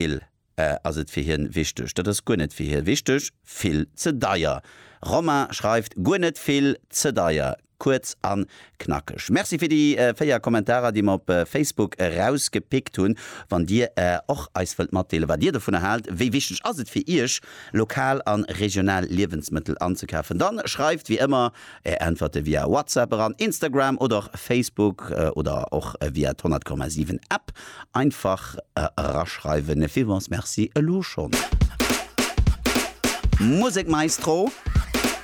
Vill ass et fir hien wichteg? Dat ass guer net fir hie wichteg. Vill ze deier. Romain schreift, Guer net vill ze deier. Kuerz an knackeg. Merci fir déi 4 Kommentarer déi mer op Facebook erausgepickt hunn. Wann dir och eis wëllt matdeelen wat dir dovunner haalt, wéi wichteg ass et fir iech lokal an regional Liewensmëttel anzekafen, dann schreift wéi ëmmer Är Äntwerte via WhatsApp eran, Instagram oder och Facebook oder och via d'100,7 App einfach eraschreiwen. Villmols Merci elo schonn. Musek Maestro.